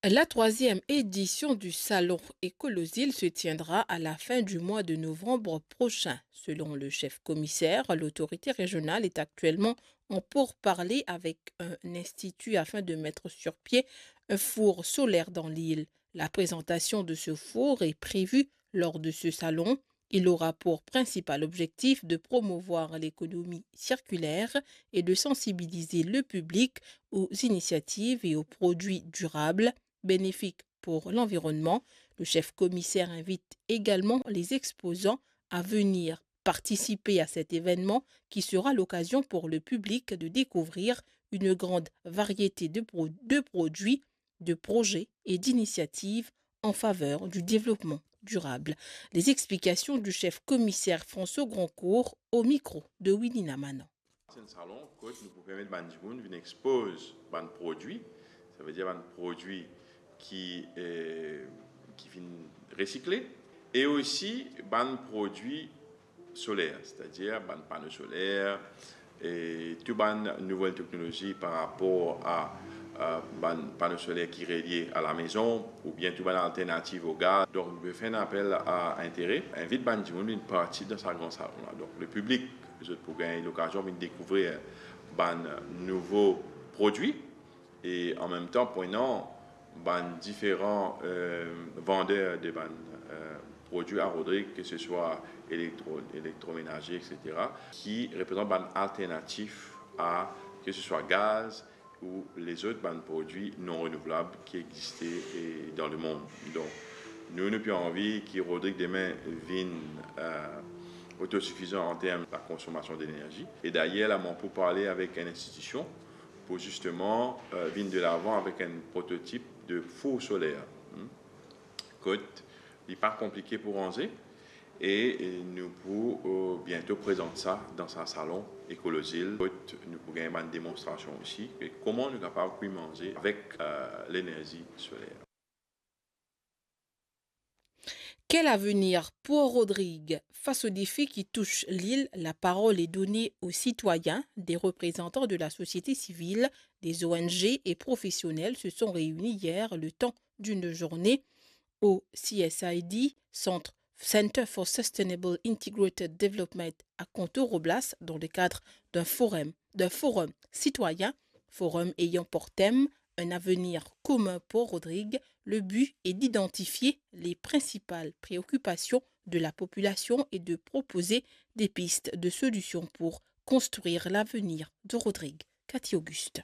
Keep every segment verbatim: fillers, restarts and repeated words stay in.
La troisième édition du Salon Ekolozil se tiendra à la fin du mois de novembre prochain. Selon le chef commissaire, l'autorité régionale est actuellement en pourparlers avec un institut afin de mettre sur pied un four solaire dans l'île. La présentation de ce four est prévue lors de ce salon. Il aura pour principal objectif de promouvoir l'économie circulaire et de sensibiliser le public aux initiatives et aux produits durables, bénéfiques pour l'environnement. Le chef commissaire invite également les exposants à venir participer à cet événement qui sera l'occasion pour le public de découvrir une grande variété de pro-, de produits, de projets et d'initiatives en faveur du développement durable. Les explications du chef commissaire François Grandcourt au micro de Winnie Namanan. Se enn salon kot nou pou permet bann dimoun vinn expoz bann prodwi, savedir bann prodwi ki, eh, ki finn resikle, e osi bann prodwi soler, setadir bann pano soler, e tou bann nouvel teknolozi par rapor a, a bann pano soler ki relie a lamezon, oubien tou bann alternativ o gaz. Donk, nou pe fer enn apel a intere, invit bann dimoun vinn partisip dan sa gran salon la. Donk, lepiblik, zot pou gagn lokazion vinn dekouvrir bann nouvo prodwi, e anmemtan, pou enn an, bann diferan, eh, vander de bann, eh, prodwi a Rodrig, ke se swa elektro-, elektromenaze, et cetera, ki reprezant bann alternatif a, ke se swa gaz ou lezot bann prodwi non renouvlab ki existe, eh, dan lemond. Donk, nou, nou pe anvi ki Rodrig demin vinn, eh, otosifizan an term lakonsonmasion denerzi. E dayer, la, mo pou parle avek enn institision pou zisteman, eh, vinn delavan avek enn prototip de four soler, hmm, kot li pa konplike pou ranze, e, e nou pou, eh, biento prezant sa dan sa salon Ekolozil, kot nou pou gagn bann demonstrasion osi, e kouma nou kapav kwi manze avek, eh, lenerzi soler. Quel avenir pour Rodrig ? Face aux défis qui touchent l'île, la parole est donnée aux citoyens. Des représentants de la société civile, des O N G et professionnels se sont réunis hier le temps d'une journée au C S I D, Centre, Center for Sustainable Integrated Development, à Kontour Oblas, dans le cadre d'un forum, d'un forum citoyen, forum ayant pour thème un avenir commun pour Rodrig. Le but est d'identifier les principales préoccupations de la population et de proposer des pistes de solutions pour construire l'avenir de Rodrig. Cathy Auguste.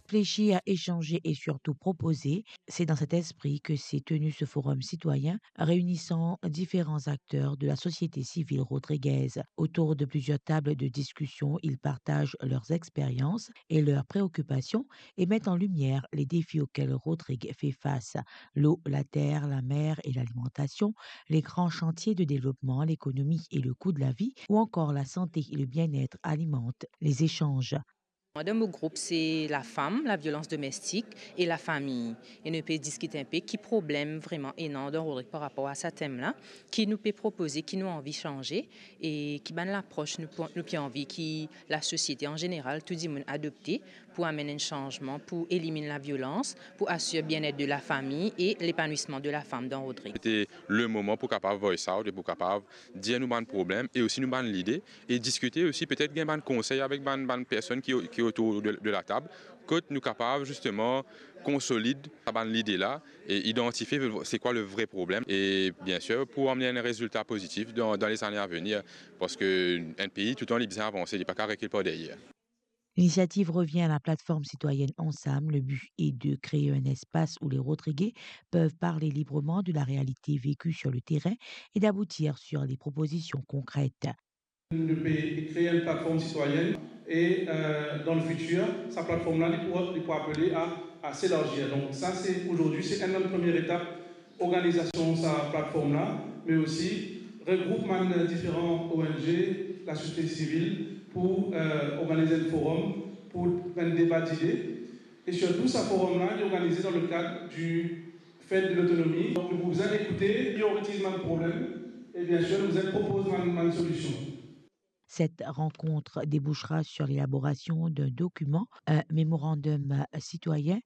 Réfléchir, échanger et surtout proposer, c'est dans cet esprit que s'est tenu ce forum citoyen réunissant différents acteurs de la société civile rodriguaise. Autour de plusieurs tables de discussion, ils partagent leurs expériences et leurs préoccupations et mettent en lumière les défis auxquels Rodrig fait face. L'eau, la terre, la mer et l'alimentation, les grands chantiers de développement, l'économie et le coût de la vie, ou encore la santé et le bien-être alimentent les échanges. Dan mo group, se lafam, laviolans domestik e lafami. E nou pe diskit inpe ki problem vreman ena dan Rodrig par rapor a sa tem la, ki nou pe propoze, ki nou anvi sanze, e ki bann lapros nou pou, nou pe anvi ki lasosiete an zeneral, tou dimoun adopte pou amenn enn sanzman, pou eliminn laviolans, pou asir bienet de lafami e lepanwisman de lafam dan Rodrig. Sete le moman pou kapav voice out e pou kapav dir nou bann problem e osi nou bann lide, e diskite osi, petet gagn bann konsey avek bann, bann personn ki, ki otour de, de latab, kot nou kapav zisteman konsolid sa bann lide la e idantifie se kwa le vre problem e, biensir, pou amenn enn rezilta pozitif dan, dan lezane avenir, parski enn pei, toutan, li bizin avanse, li pa kav rekil par deryer. L'initiative revient à la plateforme citoyenne Ensemble. Le but est de créer un espace où les Rodriguais peuvent parler librement de la réalité vécue sur le terrain et d'aboutir sur des propositions concrètes. Nou pe kree enn platform sitwayenn e, euh, dan le fitir, sa platform la, li pou, li pou apele a, a s'élargir. Donk sa, se, ozordi, se enn bann premie etap, organizasion sa platform la, me osi regroup bann diferan O N G, lasosiete sivil, pou, euh, organiz enn forum, pou enn deba dide. E sirtou, sa forum la, li organize dan le kad di Fête de l'Autonomie. Donk nou pou bizin ekoute, prioritiz bann problem, e biensir, nou bizin propoz bann, bann solision. Cette rencontre débouchera sur l'élaboration d'un document, un mémorandum citoyen,